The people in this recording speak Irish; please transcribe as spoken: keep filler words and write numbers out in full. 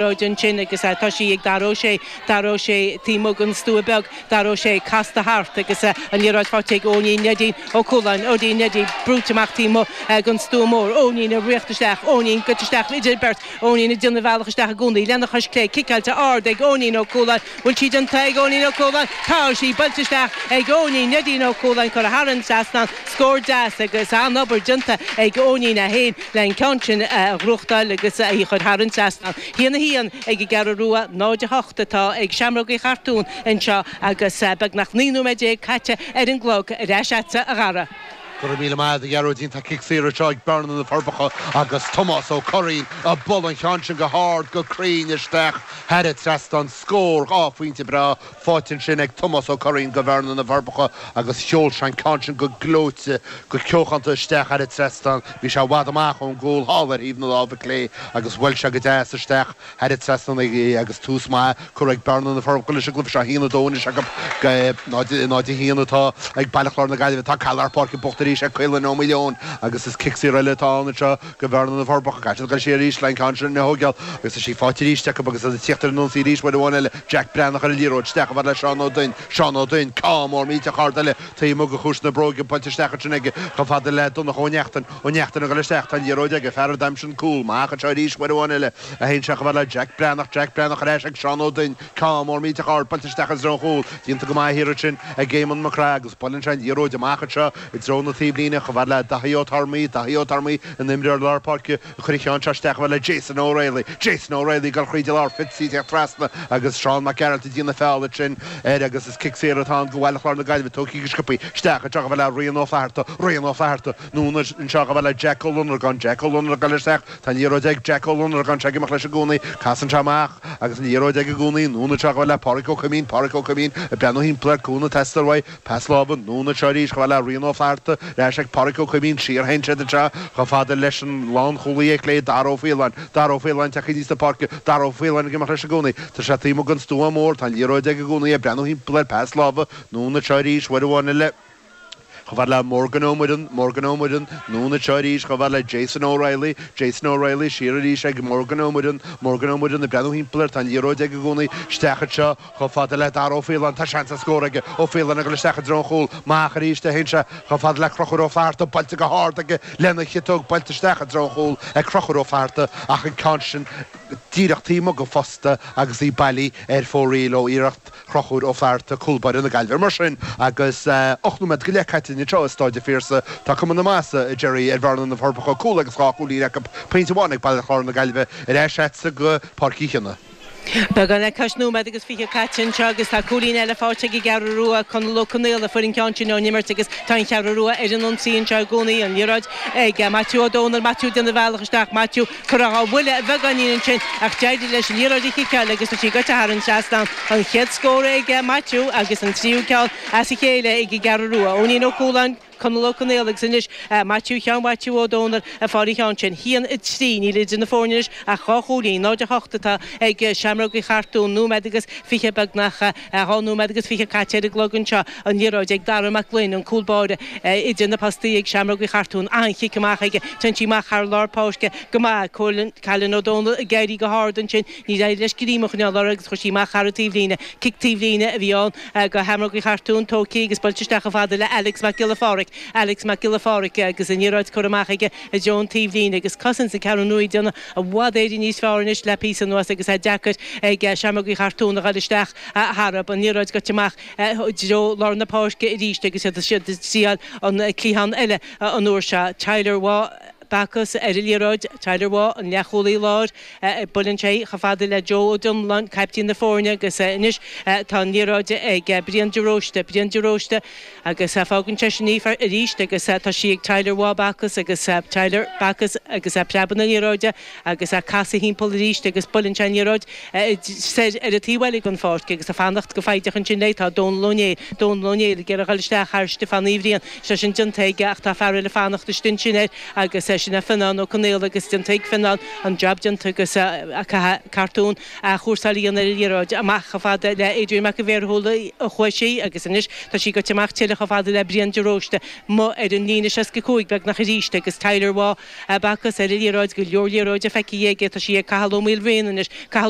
Ansin agus tá sí ag Dara Ó Sé Dara Ó Sé taobh amuigh den stua beag Dara Ó Sé casta thart agus an liathróid faighte ag Eoinín Neidín Ó Cualáin Eoinín Neidín brúite amach taobh amuigh den stua mór Eoinín ag rith isteach Eoinín goite isteach idir beirt Eoinín ag déanamh a bhealach isteach i gcónaí lena chois clé ciceáilte ard ag Eoinín Ó Cualáin bhfuil sí déanta ag Eoinín Ó Cualáin tá sí buailte isteach ag Eoinín Neidín Ó Cualáin curtha thar an trasnán scór deas agus an-obair déanta ag Eoinín é féin le an ceann sin a ghnóthachtáil agus a chur thar an trasnán. Haon a haon ag an gCeathrú Rua náid a hocht atá ag Seamróga Uí Chartúin anseo agus beagnach naoi nóiméad déag caite ar an gclog ar ais agatsa a Dhara. Go raibh míle maith a Ghearóidín tá cic saor anseo ag Bearna na Forbacha agus Tomás Ó Curraoin ag bualadh an cheann sin go hard go cruinn isteach thar an trasnán scór dhá phointe breá faighte ansin ag Tomás Ó Curraoin go Bhearna na Forbacha agus sheol sé an ceann sin go gleoite go ceochanta isteach thar an trasnán bhí sé i bhfad amach ón gcúl thall ar thaobh na láimhe clé agus bhuail sé go deas isteach thar an trasnán agus tús maith curtha ag Bearna na Forbacha leis an gcluiche seo haon a dó anois acu náid a haon atá ag Baile Chláir na Gaillimhe tá caid lár páirce buachta arís ag Caolan Ó Maoileoin agus is cic saor eile atá ann anseo go Bhearna na Forbacha caithfidh siad dul siar arís le an ceann sin a thógáil agus tá sí faighte arís acu agus ag tíocht ar an ionsaí arís uair amháin eile Jack Breathnach ar an liathróid isteach le Seán Ó Duinn Seán Ó Duinn ceann mór millteach ard eile taobh amuigh de chúis na bróige buailte isteach ansin aige chomh fada le Donncha Ó Neachtain Ó Neachtain ag dul isteach tá an liathróid aige fear a d'aimsigh an cúl amach anseo arís uair amháin eile a théann sé chomh fada le Jack Breathnach Jack Breathnach ar ais ag Seán Ó Duinn ceann mór millteach ard buailte isteach i dtreo an chúil déanta go maith thiar ansin ag Éamonn Mac Craith agus buaileann sé an liathróid amach anseo i dtreo na taobhlíne chomh fada le Daithí Ó Tormaí Daithí Ó Tormaí an imreoir lár páirce chuir an ceann seo isteach chomh fada le Jason O'Reilly Jason O'Reilly ag dul thríd an lár Fitzy teacht trasna agus Seán Mac Gearailt ag déanamh feall ansin air agus is cic saor atá ann go Bhaile Chláir na Gaillimhe tógtha go sciobtha isteach anseo chomh fada le Rian Ó Flatharta Rian Ó Flatharta anonn anseo chomh fada le Jack Ó Lonargáin Jack Ó Lonargáin isteach tá an liathróid ag Jack Ó Lonargáin sé ag imeacht leis i gcónaí casann sé amach agus an liathróid ag i gcónaí anonn anseo chomh fada le Pádraig Ó Cuimín Pádraig Ó Cuimín ag breathnú thimpeall air cúnamh ag teastáil uaidh pas láimhe anonn anseo arís chomh fada le Rian Ó Flatharta ar ais ag Pádraig Ó Cuimín siar théann siad anseo chomh fada leis an lánchúlaí clé Dara Ó Faoláin Dara Ó Faoláin teacht aníos na páirce Dara Ó Faoláin ag imeacht leis i gcónaí Tá sé taobh amuigh den stua mór tá an liathróid ag i gcónaí ag breathnú thimpeall air pas láimhe anonn anseo arís uair amháin eile chomh fada le Morgan Ó Muireann Morgan Ó Muireann anonn anseo arís chomh fada le Jason O'Reilly Jason O'Reilly siar arís ag Morgan Ó Muireann Morgan Ó Muireann ag breathnú thimpeall air tá an liathróid ag i gcónaí isteach anseo chomh fada le Dara Ó Faoláin tá seans ar scór aige Ó Faoláin ag dul isteach i dtreo an chúil amach arís a théann sé chomh fada le Conchúr Ó Flatharta buailte go hard aige lena chiotóg buailte isteach i dtreo an chúil ag Conchúr Ó Flatharta ach an ceann sin díreach taobh amuigh den phosta agus í bailí ar fóraoil ó iarracht Chonchúir Ó Flatharta cúl báire na Gaillimhe mar sin agus ocht nóiméad go leith caite anseo i Staid an Phiarsaigh tá cuma na maitheasa a Jerry ar Bhearna na Forbacha cúl agus dhá chúilín acu pointe amháin ag Baile Chláir na Gaillimhe ar ais agatsa go Páirc Uí Chionnaith. Beagán le cois nóiméad agus fiche caite anseo agus tá cúilín eile faighte ag an gCeathrú Rua Conall Ó Conaola fuair an ceann sin ón imirt agus tá an Cheathrú Rua ar an ionsaí anseo i gcónaí an liathróid ag Maitiú Ó Dónaill Maitiú déanamh a bhealach isteach Maitiú curtha dhá bhuille a bheagáinín ansin ach d'éirigh leis an liathróid a chiceáil agus tá sí goite thar an trasnán an chéad scór ag Maitiú agus an tríú ceann as a chéile ag an gCeathrú Rua. Eoinín Ó Cualáin Conall Ó Conaola agus anois Maitiú Sheáin Mhaitiú Ó Dónaill a fuair an ceann sin. Haon a trí níl idir na foirne anois ach dhá chúilín náid a hocht atá ag Seamróga Uí Chartúin nóiméad agus fiche beagnach dhá nóiméad agus fiche caite ar an gclog anseo an liathróid ag Dara Mac Gloinn an cúl báire idir na postaí ag Seamróga Uí Chartúin an-chic amach aige téann sí amach thar lár páirce go maith Cailin Ó Dónaill ag éirí go hard ansin ní éirigh leis greim a choinneáil uirthi agus chuir sí amach thar an taobhlíne cic taobhlíne a bhí ann go Sheamróga Uí Chartúin tógtha agus buailte isteach chomh fada le Alex Mac Giolla Phádraig Alex Mac Giolla Phádraig agus an liathróid curtha amach aige i dtreo an taobhlíne agus cosaint na Ceathrún Rua ag déanamh i bhfad Éireann níos fearr anois le píosa anuas agus é deacair ag Seamróga Uí Chartúin a ghabháil isteach tharb an liathróid goite amach i dtreo lár na páirce arís agus iad siad ag triail an cliathán eile an uair seo Tyler Waugh Bacchus ar an liathróid Tyler Waugh an leathchúlaí láir buaileann sé chomh fada le Joe Ó Donláin caiptín na foirne agus anois tá an liathróid ag Brian de Róiste Brian de Róiste agus fágann sé sin í arís agus tá sí ag Tyler Waugh Bacchus agus Tyler Bacchus agus preabann na liathróide agus casadh thimpeall arís agus buaileann sé an liathróid soir ar an taobh eile den pháirc agus ag fanacht go foighdeach ansin léi tá Dónal Ó Néill Dónal Ó Néill ag iarraidh dul isteach thar Stiofán Uí Bhriain sé sin déanta aige ach tá fear eile fanacht istigh ansin air agus Sin é Fionnán Ó Conaola agus déanta ag Fionnán an job déanta agus cartún a chúrsáil ar an liathróid amach chomh fada le Adrian Mac an Bhéarthúla a chuaigh sí agus anois tá sí goite amach tuilleadh chomh fada le Brian de Róiste amuigh ar an líne seasca cúig beagnach arís agus Tyler Waugh bacas ar an liathróid go leor liathróide feicthe aige tá sí ag Cathal Ó Maoilbhriain anois Cathal